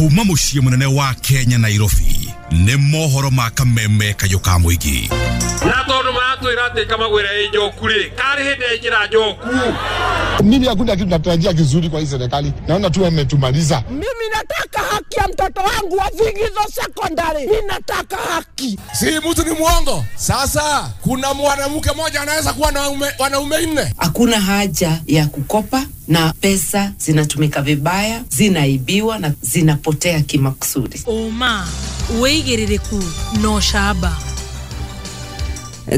Kuma muciĩ mũnene wa Kenya Nairobi nĩ mohoro ma kameme kayũ ka mũingĩ. Na tondu maratwĩra atĩ kamagwĩra ĩ njoku rĩ, karĩ hĩndĩ yaingĩra njoku. Mimi hakuna kitu natarajia kizuri kwa hii serikali, naona tu wametumaliza. Mimi nataka haki ya mtoto wangu wa Vigizo Secondary, mimi nataka haki. Si mtu ni mwongo. Sasa kuna mwanamke mmoja anaweza kuwa na wanaume nne. Hakuna haja ya kukopa na pesa zinatumika vibaya, zinaibiwa na zinapotea kimakusudi. Oma wĩigĩrĩrĩku no camba.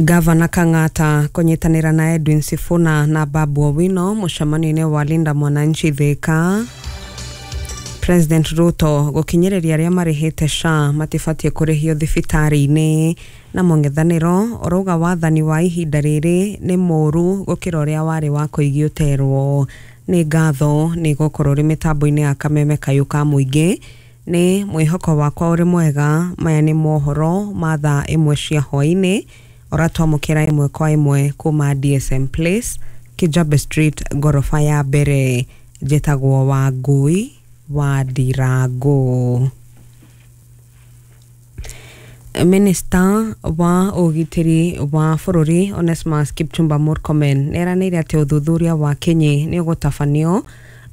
Gavana Kang'ata kunyitanĩra na Edwin Sifuna na Babu Owino mũcemanio-inĩ wa Linda Mwananchi Thika. President Ruto gũkinyĩrĩria arĩa marĩhĩte SHA matibatiĩ kũrĩhio thibitarĩ-inĩ. Na mũng'ethanĩro ũrauga wathani wa ihinda rĩrĩ nĩ mũũru gũkĩra ũrĩa warĩ wa kũigio terwo. Nĩ ngatho nĩ gũkorwo ũrĩ mĩtambo-inĩ ya kameme kayũ ka mũingĩ. Nĩ mwĩhoko wakwa ũrĩ mwega. Maya nĩ mohoro ma thaa 1 cia hwaĩ-inĩ ũratwamũkĩra 1 kwa 1 kuma DSM Place, Kijabe Street, ngoroba ya mbere. Njĩtagwo Wangui wa Ndirango. Minister wa ũgitĩri wa bũrũri Onesmus Kipchumba Murkomen nĩeranĩire atĩ ũthuthuria wa kinyi nĩ ũgũtabanio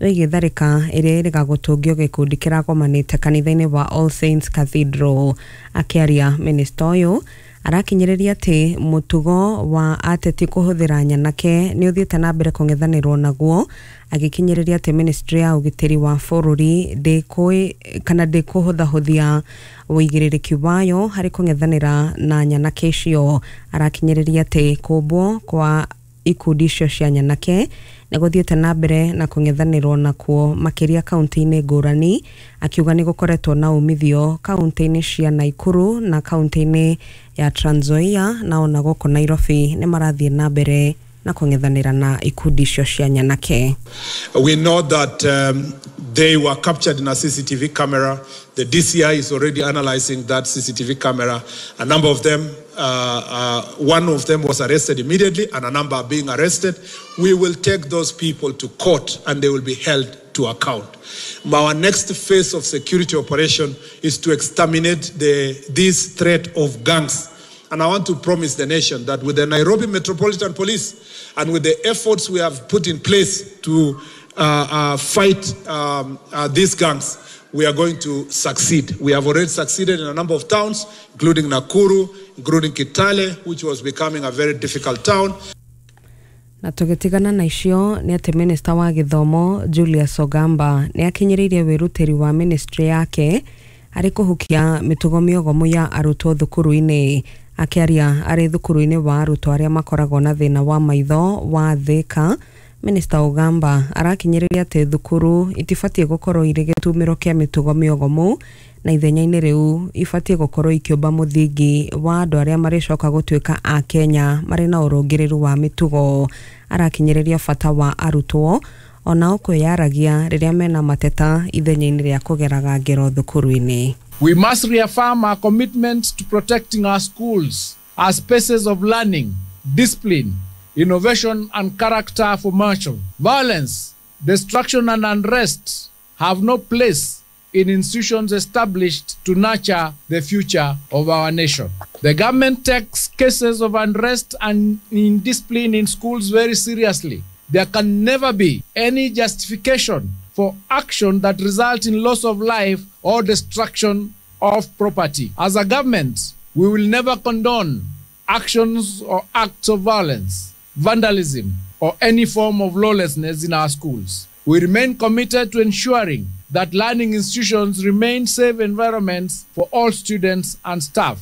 wĩgiĩ tharĩka ĩrĩa ĩrĩga gũtũngio gĩkundi kĩragomanĩte kanitha-inĩ wa All Saints Cathedral. Akĩaria, minista ũyũ arakinyĩrĩria atĩ mũtugo wa ateti kũhũthĩra nyanake nĩ ũthiĩte na mbere kũng'ethanĩrwo naguo, agĩkinyĩrĩria atĩ ministry ya ũgitĩri wa bũrũri ndĩkũhũthahũthia ũigĩrĩrĩki wayo harĩ kũng'ethanĩra na nyanake icio. Arakinyĩrĩria atĩ kũmbwo kwa ikundi icio cia nyanake nĩ gũthiĩte na mbere na kũng'ethanĩrwo nakuo makĩria kaunti-inĩ ngũrani, akiuga nĩ gũkoretwo na umithio kaunti-inĩ cia Nakuru na kaunti-inĩ ya Trans Nzoia, na ona gũkũ Nairobi nĩ marathiĩ na mbere na kũng'ethanĩra na ikundi icio cia nyanake. We know that they were captured in a CCTV camera. The DCI is already analyzing that CCTV camera. A number of them, one of them was arrested immediately and a number are being arrested. We will take those people to court and they will be held to account. Our next phase of security operation is to exterminate this threat of gangs. And I want to promise the nation that with the Nairobi Metropolitan Police and with the efforts we have put in place to fight these gangs, we are going to succeed. We have already succeeded in a number of towns, including Nakuru, including Kitale, which was becoming a very difficult town. Na tũgĩtigana na icio nĩ atĩ minista wa gĩthomo Julius Ogamba nĩ akinyĩrĩirie wĩrutĩri wa ministry yake harĩ kũhukia mĩtugo mĩogomu ya arutwo thukuru-inĩ. Akĩaria arĩ thukuru-inĩ wa arutwo arĩa makoragwo na thĩna wa maitho wa Thika, Minista Ogamba arakinyĩrĩria atĩ thukuru itibatiĩ gũkorwo irĩ gĩtumĩro kĩa mĩtugo mĩogomu, na ithenya-inĩ rĩu ibatiĩ gũkorwo ikĩũmba mũthingi wa andũ arĩa marĩcoka gũtuĩka a Kenya marĩ na ũrũngĩrĩru wa mĩtugo. Arakinyĩrĩria bata wa arutwo onao kwĩyaragia rĩrĩa mena mateta ithenya-inĩ rĩa kũgeraga ngero thukuru-inĩ. We must reaffirm our commitment to protecting our schools as spaces of learning, discipline, innovation and character formation. Violence, destruction and unrest have no place in institutions established to nurture the future of our nation. The government takes cases of unrest and indiscipline in schools very seriously. There can never be any justification for action that results in loss of life or destruction of property. As a government, we will never condone actions or acts of violence, vandalism, or any form of lawlessness in our schools. We remain committed to ensuring that learning institutions remain safe environments for all students and staff.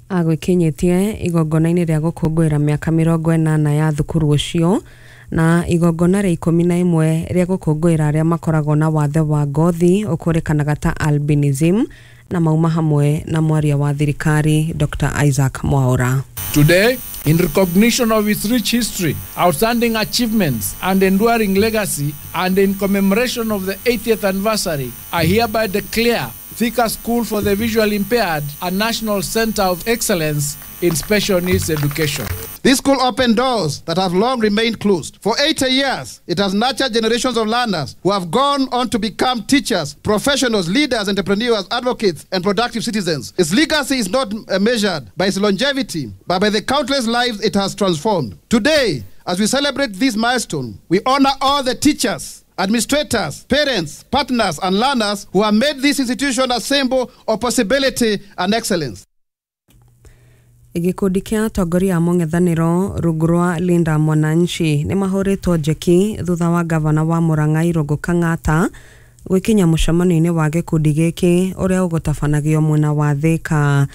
Agwĩkinyĩtie igongona-inĩ rĩa gũkũngũĩra mĩaka 80 ya thukuru ũcio na igongona rĩa 11 rĩa gũkũngũĩra arĩa makoragwo na wathe wa ngothi ũkũrĩkanaga ta albinism, na mauma hamwe na mwaria wa thirikari Dr. Isaac Mwaura. Today, in recognition of its rich history, outstanding achievements, and enduring legacy, and in commemoration of the 80th anniversary, I hereby declare Thika School for the Visually Impaired a national center of excellence in special needs education. This school opened doors that have long remained closed. For 80 years, it has nurtured generations of learners who have gone on to become teachers, professionals, leaders, entrepreneurs, advocates, and productive citizens. Its legacy is not measured by its longevity, but by the countless lives it has transformed. Today, as we celebrate this milestone, we honor all the teachers, administrators, parents, partners, and learners who have made this institution a symbol of possibility and excellence. Gĩkundi kĩa atongoria a mũng'ethanĩro rungu rwa Linda Mwananchi nĩ mahũrĩtwo njeki thutha wa gavana wa Murang'a Irũngũ Kang'ata gwĩkinya mũcemanio-inĩ wa gĩkundi gĩkĩ ũrĩa ũgũtabanagio mwena wa Thika.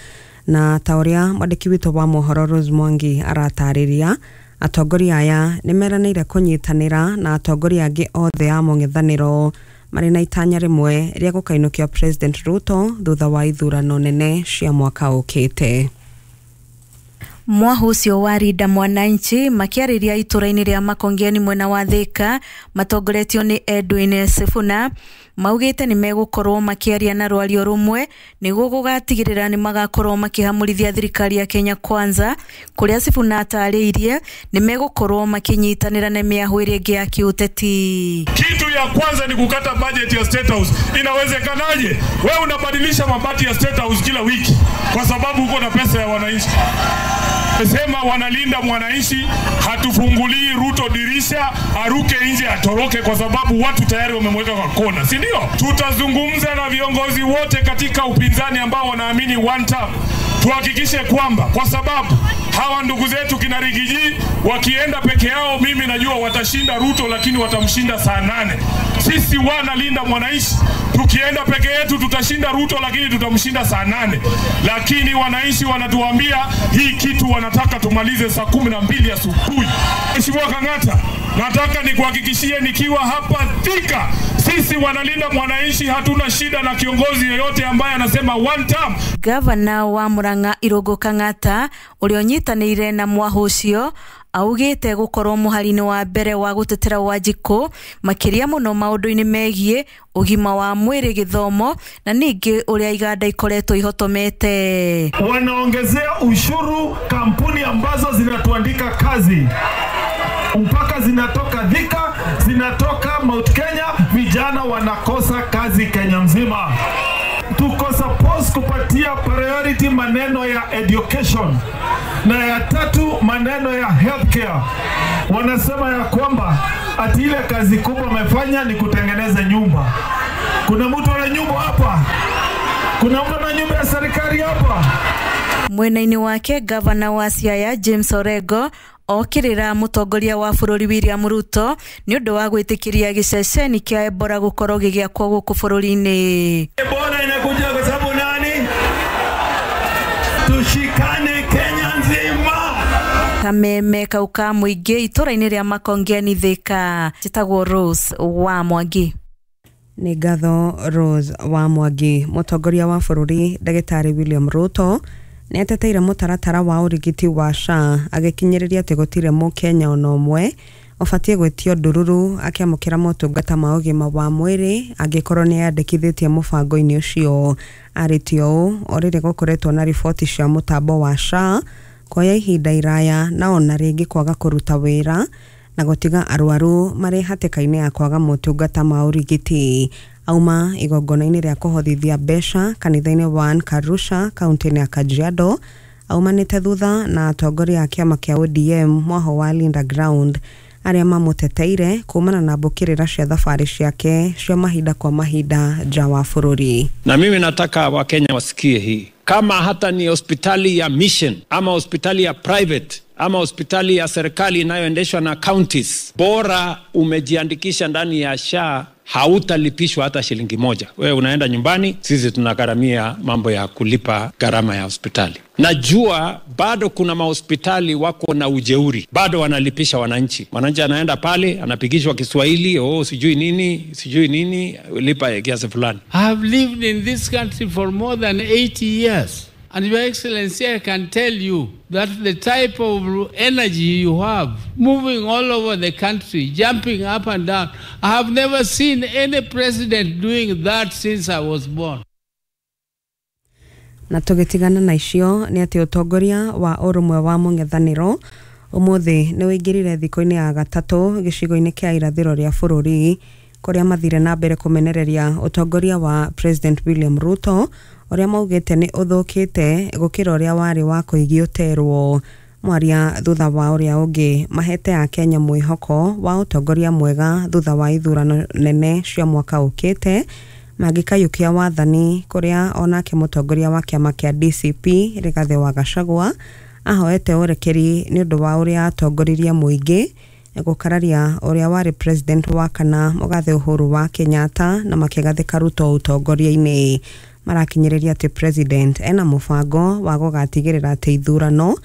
Na ta ũrĩa mwandĩki witũ wa mohoro Rose Mwangi aratarĩria, atongoria aya nĩ meranĩire kũnyitanĩra na atongoria angĩ othe a mũng'ethanĩro marĩ na itanya rĩmwe rĩa gũkainũkia President Ruto thutha wa ithurano nene cia mwaka ũkĩte. Mwahu ũcio wa Linda Mwananchi makĩarĩria itũra-inĩ rĩa Makongeni mwena wa Thika matongoretio nĩ Edwin Sifuna maugĩte nĩ megũkorwo makĩaria na rwario rũmwe nĩguo gũgatigĩrĩra nĩ magakorwo makĩhamũrithia thirikari ya Kenya Kwanza, kũrĩa Sifuna atarĩirie nĩ megũkorwo makĩnyitanĩra na mĩahũ ĩrĩa ĩngĩ ya kĩũteti. Kitu ya kwanza ni kukata budget ya State House. Inawezekanaje wewe unabadilisha mabati ya State House kila wiki kwa sababu uko na pesa ya wananchi? Sema wanalinda mwananchi, hatufungulii Ruto dirisha aruke nje atoroke, kwa sababu watu tayari wamemweka kwa kona, si ndio? Tutazungumza na viongozi wote katika upinzani ambao wanaamini one term, tuhakikishe kwamba, kwa sababu hawa ndugu zetu kina Rigiji wakienda peke yao, mimi najua watashinda Ruto, lakini watamshinda saa 8. Sisi wanalinda mwananchi, tukienda peke yetu tutashinda Ruto, lakini tutamshinda saa 8. Lakini wananchi wanatuambia hii kitu wanataka tumalize saa 12 asubuhi. Mheshimiwa Kang'ata, nataka nikuhakikishie nikiwa hapa Thika, sisi wanalinda mwananchi hatuna shida na kiongozi yeyote ambaye anasema one term. Gavana wa Murang'a Irũngũ Kang'ata ũrĩa ũnyitanĩire na mwahu ũcio augĩte gũkorwo mũhari-inĩ wa mbere wa gũtetera Wanjikũ makĩria mũno maũndũ-inĩ megiĩ ũgima wa mwĩrĩ, gĩthomo na ningĩ ũrĩa iganda ikoretwo ihotomete. Wanaongezea ushuru kampuni ambazo zinatuandika kazi, mpaka zinatoka Thika, zinatoka Mount Kenya, vijana wanakosa kazi Kenya mzima. Tuko supposed kupatia priority maneno ya education, na ya tatu maneno ya healthcare. Wanasema ya kwamba ati ile kazi kubwa wamefanya ni kutengeneza nyumba. Kuna mtu ana nyumba hapa? Kuna mtu ana nyumba ya serikali hapa? Mwena-inĩ wake gavana wa Siaya James Orengo okĩrĩra mũtongoria wa bũrũri William Ruto nĩ ũndũ wa gwĩtĩkĩria gĩceceni kĩa Ebola gũkorwo gĩgĩakwo gũkũ bũrũri-inĩ. Ebola inakuja kwa sababu nani? Tushikane Kenya nzima. Kameme kau ka mũingĩ itũra-inĩ rĩa Makongeni Thika. Njĩtagwo Rose wa Mwangi. Nĩ ngatho Rose wa Mwangi. Mũtongoria wa bũrũri ndagĩtarĩ William Ruto nĩ ateteire mũtaratara wa ũrigiti wa SHA agĩkinyĩrĩria atĩ gũtirĩ mũkenya ona ũmwe ũbatiĩ gwĩtio ndururu akĩamũkĩra motungata ma ũgima wa mwĩrĩ angĩkorwo nĩ eyandĩkithĩtie mũbango-inĩ ũcio. Arĩtie ũũ o rĩrĩ gũkoretwo na riboti cia mũtambo wa SHA kuoya ihinda iraya na ona rĩngĩ kwaga kũruta wĩra na gũtiga arwaru marĩ hatĩka-inĩ ya kwaga motungata ma ũrigiti. Auma igongona-inĩ rĩa kũhothithia mbeca kanitha-inĩ wa Ankarusha kaunti-inĩ ya Kajiado aumanĩte thutha na atongoria a kĩama kĩa ODM mwaho wa Linda Ground arĩa mamũteteire kumana na mbũkĩrĩra cia thabarĩ ciake cia mahinda kwa mahinda nja wa bũrũri. Na mimi nataka Wakenya wasikie hii, kama hata ni hospitali ya mission ama hospitali ya private ama hospitali ya serikali inayoendeshwa na counties, bora umejiandikisha ndani ya SHA hautalipishwa hata shilingi moja. Wewe unaenda nyumbani, sisi tunagharamia mambo ya kulipa gharama ya hospitali. Najua bado kuna mahospitali wako na ujeuri, bado wanalipisha wananchi. Mwananchi anaenda pale anapigishwa Kiswahili, oh sijui nini, lipa kiasi fulani. I have lived in this country for more than 80 years. And Your Excellency, I can tell you that the type of energy you have, moving all over the country, jumping up and down, I have never seen any president doing that since I was born. Na tũgĩtigana na icio nĩ atĩ ũtongoria wa ũrũmwe wa mũng'ethanĩro ũmũthĩ nĩ ũingĩrire thikũ-inĩ ya gatatũ gĩcigo-inĩ kĩa irathĩro rĩa bũrũri kũrĩa mathire na mbere kũmenereria ũtongoria wa President William Ruto ũrĩa maugĩte nĩ ũthũkĩte gũkĩra ũrĩa warĩ wa kũigio terwo. Mwaria thutha wa ũrĩa ũngĩ mahete Akenya mwĩhoko wa ũtongoria mwega thutha wa ithurano nene cia mwaka ũkĩte mangĩkayũkia wathani kũrĩa onake mũtongoria wa kĩama kĩa DCP Rigathĩ wa Gachagua ahoete ũrekeri nĩ ũndũ wa ũrĩa atongoririe mũingĩ gũkararia ũrĩa warĩ president wa kana mũgathe Uhuru wa Kenyatta na makĩgathĩka Ruto ũtongoria-inĩ. Marakinyĩrĩria atĩ president ena mũbango wa gũgatigĩrĩra atĩ ithurano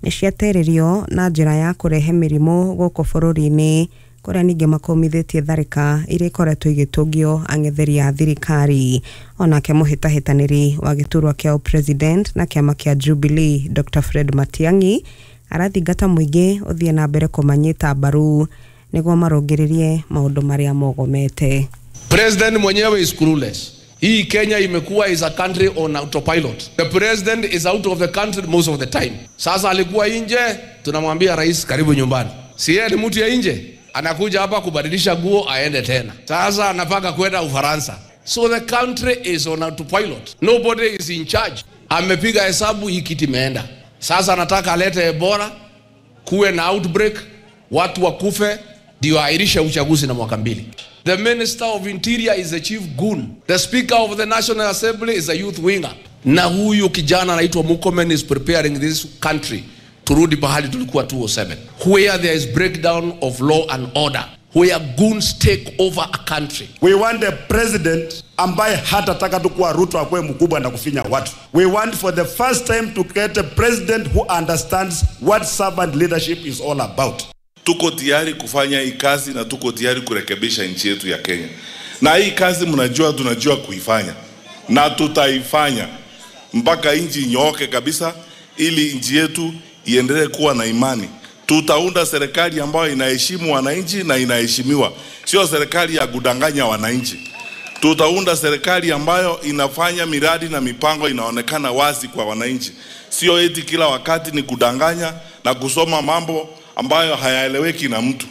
nĩ ciaterĩrio na njĩra ya kũrehe mĩrimũ gũkũ bũrũri-inĩ kũrĩa ningĩ makũmithĩtie tharĩka iria ikoretwo igĩtũngio ang'etheri a thirikari. Onake mũhĩtahĩtanĩri wa gĩturwa kĩa president na kĩama kĩa Jubilee Dr. Fred Matiang'i arathingata mũingĩ ũthiĩ na mbere kũmanyita mbaru nĩguo marũngĩrĩrie maũndũ marĩa mogomete. President mwenyewe is clueless. Hii Kenya imekuwa is a country on autopilot. The president is out of the country most of the time. Sasa alikuwa nje, tunamwambia rais karibu nyumbani. Si yeye ni mtu ya nje, anakuja hapa kubadilisha nguo aende tena. Sasa anapanga kwenda Ufaransa. So the country is on autopilot. Nobody is in charge. Amepiga hesabu hii kiti imeenda. Sasa anataka alete Ebola, kuwe na outbreak, watu wakufe, ndio airishe uchaguzi na mwaka mbili. The Minister of Interior is a chief goon. The Speaker of the National Assembly is a youth winger. Na huyu kijana anaitwa Murkomen is preparing this country turudi pahali tulikuwa 2007, where there is breakdown of law and order, where goons take over a country. We want a president ambaye hatataka tu kuwa Ruto akuwe mkubwa na kufinya watu. We want for the first time to create a president who understands what servant leadership is all about. Tuko tayari kufanya hii kazi na tuko tayari kurekebisha nchi yetu ya Kenya. Na hii kazi mnajua tunajua kuifanya. Na tutaifanya mpaka nchi inyooke kabisa ili nchi yetu iendelee kuwa na imani. Tutaunda serikali ambayo inaheshimu wananchi na inaheshimiwa. Sio serikali ya kudanganya wananchi. Tutaunda serikali ambayo inafanya miradi na mipango inaonekana wazi kwa wananchi. Sio eti kila wakati ni kudanganya na kusoma mambo ambayo hayaeleweki na mtu.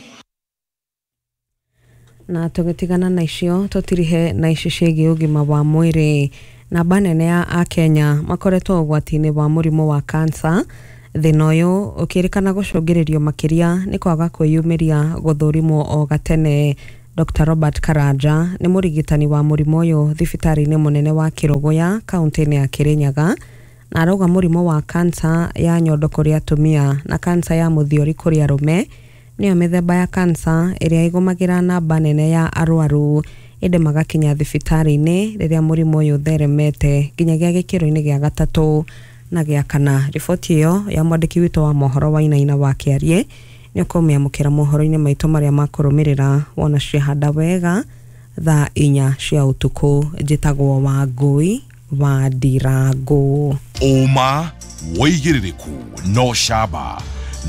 Na tũgĩtigana na icio tũtirihe na ici ciĩgiĩ ũgima wa mwĩrĩ. Namba nene ya Akenya makoretwo ũgwati-inĩ wa mũrimũ wa kansa. Thĩna ũyũ ũkĩrĩkana gũcũngĩrĩrio makĩria nĩ kwaga kwĩyumĩria gũthũrimwo o gatene. Dr. Robert Karanja nĩ mũrigitani wa mũrimũ ũyũ thibitarĩ-inĩ mũnene wa Kĩrũgũya kaunti-inĩ ya Kĩrĩnyaga, na arauga mũrimũ wa kansa ya nyondo kũrĩ atumia na kansa ya mũthiori kũrĩ arũme nĩyo mĩthemba ya kansa ĩrĩa ĩgũmagĩra namba nene ya arwaru ĩndĩ magakinya thibitarĩ-inĩ rĩrĩa mũrimũ ũyũ ũtheremete nginyagia gĩkĩro-inĩ gĩa gatatũ na gĩa kana. Riboti ĩyo ya mwandĩki witũ wa mohoro wa Wainaina wa Kĩarie nĩ ũkũmĩamũkĩra mohoro-inĩ maitũ marĩa makũrũmĩrĩra wona ciahanda wega thaa 4 cia ũtukũ. Njĩtagwo Wangũi wa Ndirango. Ũma wĩigĩrĩrĩku no camba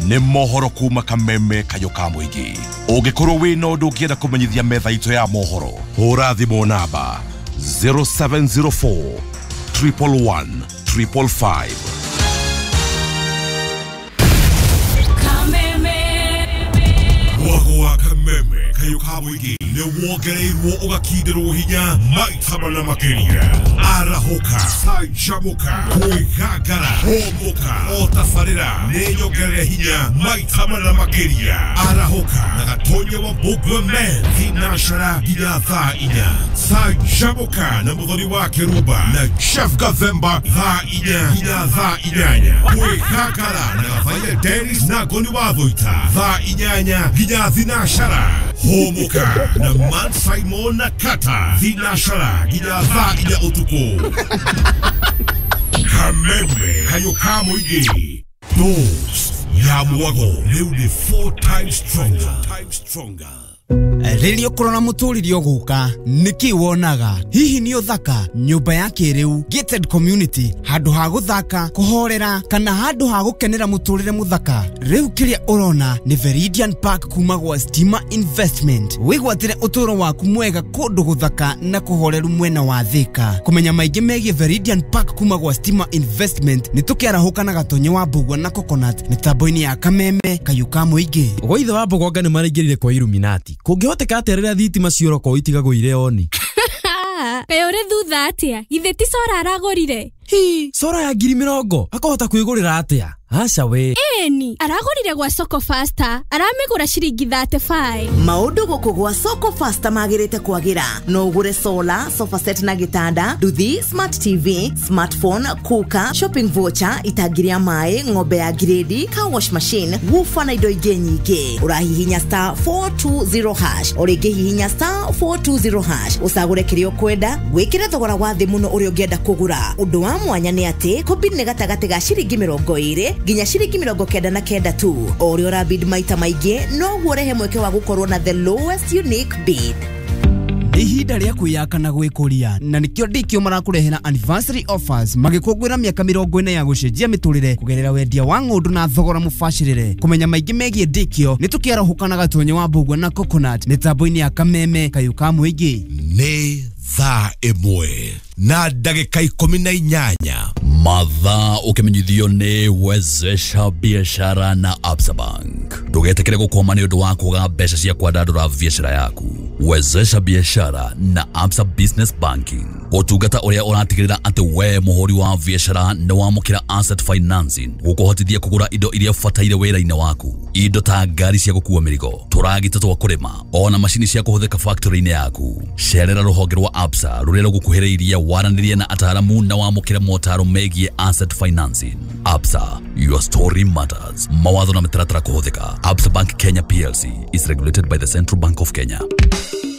nĩ mohoro kuma kameme kayũ ka mũingĩ. Ũngĩkorwo wĩna ũndũ ũngĩenda kũmenyithia metha itũ ya mohoro, hũra thimũ namba 0704 111 555. Mwago wa kameme kayũ ka mũingĩ nĩ wongereirwo ũgakindirwo hinya maita mana makĩria. Arahũka, canjamũka, kwĩgangara, hũmũka, o tabarĩra nĩ nyongerere hinya maita mana makĩria. Arahũka na Gatonya wa Mbũgua Men thinacara nginya thaa 4. Canjamũka na Mũthoni wa Kĩrumba na Chef Gathemba thaa 4 nginya thaa 8. Kwĩgangara na Gathaia Dennis na Ngoni wa Thũita thaa 8 nginya thinacara. Hũmũka na Man Simon na Kata thinacara nginya thaa 4 ũtukũ. Kameme kayũ ka mũingĩ. Dose ya mwago rĩu nĩ 4 times stronger. Rĩrĩa ũkũrora mũtũrĩre ũgũka nĩkĩ wonaga? Hihi nĩ ũthaka, nyũmba ya kĩrĩu, gated community, handũ ha gũthaka, kũhorera kana handũ ha gũkenera mũtũrĩre mũthaka? Rĩu kĩrĩa ũrona nĩ Veridian Park kuma gwa Stima Investment. Wĩgwatĩre ũtũũro waku mwega kũndũ gũthaka na kũhoreru mwena wa Thĩka. Kũmenya maingĩ megiĩ Veridian Park kuma gwa Stima Investment nĩ tũkĩarahũka na Gatonye wa Mbugua na Coconut mĩtambo-inĩ ya Kameme Kayũ ka mũingĩ. Gwa ithe wa Mbogonga nĩ maraingĩrire kwa Illuminati. Kũngĩhoteka atĩa rĩrĩa thitima ciorokwo itigagwo irĩ oni? Kaĩ ũrĩ thutha atĩa? Githĩ ti cora aragũrire? Hi, cora ya 20,000 akahota kwĩgũrĩra atĩa? Aca we. Ĩni, aragũrire gwa Soko Faster, aramĩgũra ciringi 35. Maũndũ gũkũ gwa Soko Faster magĩrĩte kwagĩra. No ũgũre solar, sofa set na gĩtanda, nduthi, smart TV, smartphone, cooker, shopping voucher, itangi rĩa maĩ, ng'ombe ya grade, car wash machine, woofer na indo ingĩ nyingĩ. Ũrahihinya star 420 hash, o rĩngĩ hihinya star 420 hash, ũcagũre kĩrĩa ũkwenda, wĩkĩre thogora wa thĩ mũno ũrĩa ũngĩenda kũgũra. Ũndũ wa mwanya nĩ atĩ kũbid nĩ gatagatĩ ga ciringi 20 nginya ciringi 99 tu. O ũrĩa ũrabid maita maingĩ noguo ũrehe mweke wa gũkorwo na the lowest unique bid. Nĩ ihinda rĩa kwĩyaka na gwĩkũria na nĩkĩo ndikio marakũrehera anniversary offers magĩkũngũĩra mĩaka 40 ya gũcenjia mĩtũrĩre kũgerera wendia wa ng'ũndũ na thogora mũbacĩrĩre. Kũmenya maingĩ megiĩ ndikio nĩ tũkĩarahũka na Gatonye wa Mbugua na Coconut mĩtambo-inĩ ya Kameme Kayũ ka mũingĩ. Nĩ thaa 1 na ndagĩka 18. Mathaa ũkĩmenyithio nĩ Wezesha Biashara na Absa Bank. Ndũgetĩkĩre gũkwama nĩ ũndũ wa kwaga mbeca cia kwandandũra biashara yaku. Wezesha Biashara na Absa Business Banking, ũtungata ũrĩa ũratigĩrĩra atĩ we mũhũri wa biashara nĩ wamũkĩra asset financing gũkũhotithia kũgũra indo iria ũbataire wĩra-inĩ waku, indo ta ngari cia gũkua mĩrigo, tũragita twa kũrĩma, ona macini cia kũhũthĩka factory-inĩ yaku. Cerera rũhonge rwa Absa rũrĩa rũgũkuhĩrĩirie, waranĩrie na ataaramu na wamũkĩre motaro megiĩ asset financing. Absa, your story matters. Mawatho na mĩtaratara kũhũthĩka. Absa Bank Kenya PLC is regulated by the Central Bank of Kenya.